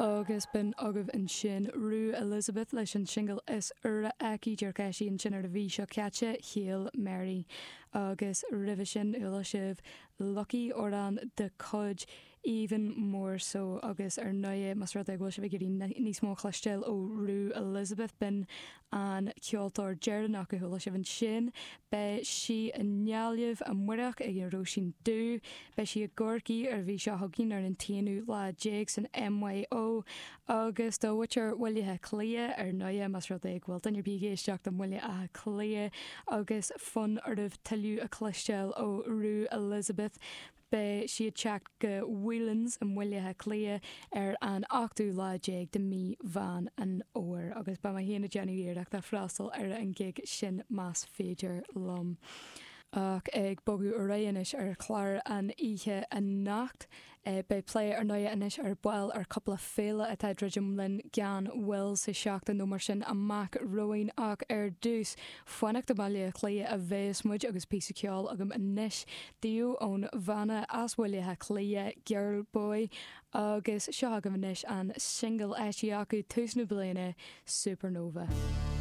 Agus b'in agaibh ansin Rue Elizabeth leis an singil is úire aici, díreach eisithe ansin ar an mhí seo caite, Hail Mary. Agus roimhe sin, chuala sibh Lucky, amhrán de chuid Even More So. Agus ar ndóigh, más rud é go bhfuil sibh ag iarraidh níos mó a chloisteáil ó Rue Elizabeth, b'in an ceoltóir deireanach a chuala sibh ansin. Beidh sí i nGaillimh amárach ag an Róisín Dubh. Beidh sí i gCorcaigh ar an mhí seo chugainn ar an t-aonú lá déag san MYO. Agus do mhuintir Bhaile Átha Cliath, ar ndóigh, más rud é go bhfuil duine ar bith ag éisteacht i mBaile Átha Cliath agus fonn oraibh tuilleadh a chloisteáil ó Rue Elizabeth, Beidh sí ag teacht go Whelan's i mBaile Átha Cliath ar an ochtú lá déag de mí Mheán an Fhómhair agus beidh mé féin ag déanamh iarrachta freastal ar an ghig sin más féidir liom. Ach ag bogadh ar aghaidh anois ar chlár an oíche anocht, beidh plé ar ndóigh anois ar ball ar cúpla féile atá ag druidim linn gan mhoill sa seachtain nó mar sin amach romhainn ach ar dtús fanacht i mBaile Átha Cliath a bheas muid agus píosa ceoil agam anois daoibh ón bhanna as Baile Átha Cliath, Girlboy, agus seo agaibh anois an singil eisithe acu tús na bliana, Supernova.